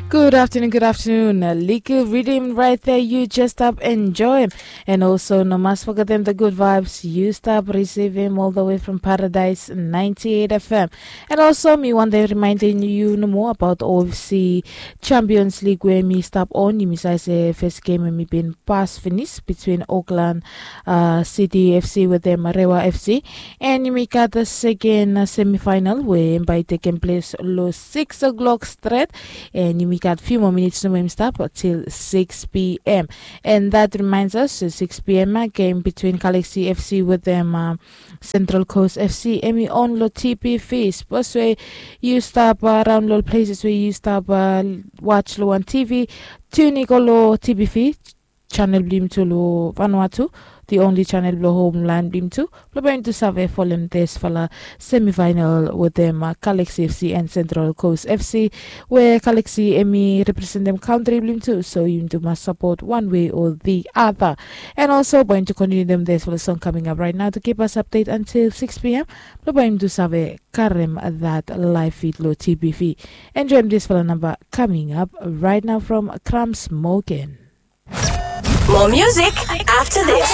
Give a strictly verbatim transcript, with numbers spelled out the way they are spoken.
Good afternoon, good afternoon. A likkle riddim right there, you just stap enjoy. And also, no mas forgetem the good vibes you stap receive him all the way from Paradise ninety-eight F M. And also, mi wante reminding you no more about O F C Champions League where mi stap on. Yumi save se first game mi bin pas finis between Auckland uh, City F C wetem Rewa F C. And yumi gat the second uh, semifinal where by taking place lo six o'clock straight. And yumi gat few more minutes no more stop till six p.m. And that reminds us, so six p.m. Uh, game between Galaxy F C wetem uh, Central Coast F C. Emi on lo T P V. Sports where you stop uh, around lo places where you stop uh, watch lo on T V. Tune in lo T P V channel blim tu lo Vanuatu, the only channel blo homeland blim tu. Blo bae yumi tu save folem tesfala semifinal wetem uh, Galaxy F C and Central Coast F C, where Galaxy emi representem country blim tu. So yumi tu mas support one way or the other. And also bae yumi tu continue dem tesfala song coming up right now to keep us update until six p.m. Blo bae yumi tu save karem that live feed lo T P V. Enjoy tesfala number coming up right now from Crumbs Morgan. More music after this.